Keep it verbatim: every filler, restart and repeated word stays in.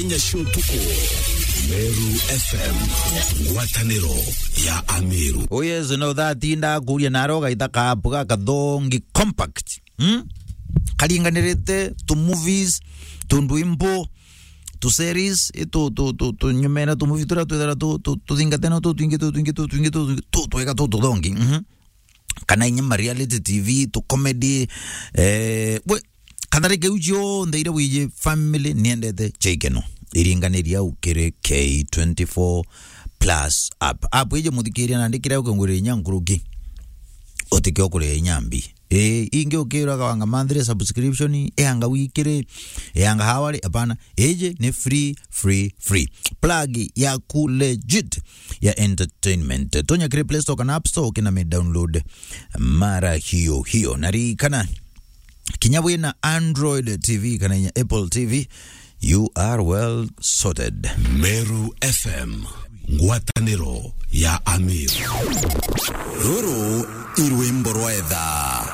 Inya cia utuku, Meru F M, ngwataniro ya Ameru. Oh yes, no, that inda kuria naro gaita kapu ga kathongi compact. Hmm? Karinganirite tu movies, tu ndwimbo, tu series, i tu, tu, tu, tu nyumene tu movie turia twithira tu, tu, tuthingate no tu twingi, tu twingi, tu twingi, tu twingi, tu twega tu tuthongi. Mhm. Kana inya ma reality T V, tu comedy, eh, we, katharike u cionthe iria wiji family niendete cia ikeno. Iringaniria au kiri K twenty-four plus app. App iji muthikiria nandi kiria ukingwira inya nkuruki. Utikio kuria inya mbi. Ii, ingi ukirwa kawanga monthly subscription, eanga wikiri, eanga hawari, apana. Iji ni free, free, free. Plug yaku legit ya entertainment. Tonya kiri Play Store kana App Store, ukina mi download mara hiyo hiyo. Na ririkana, kinya wina Android T V kana inya Apple T V, you are well sorted. Meru F M, ngwataniro ya Ameru. Ruru i rwimbo rwa etha.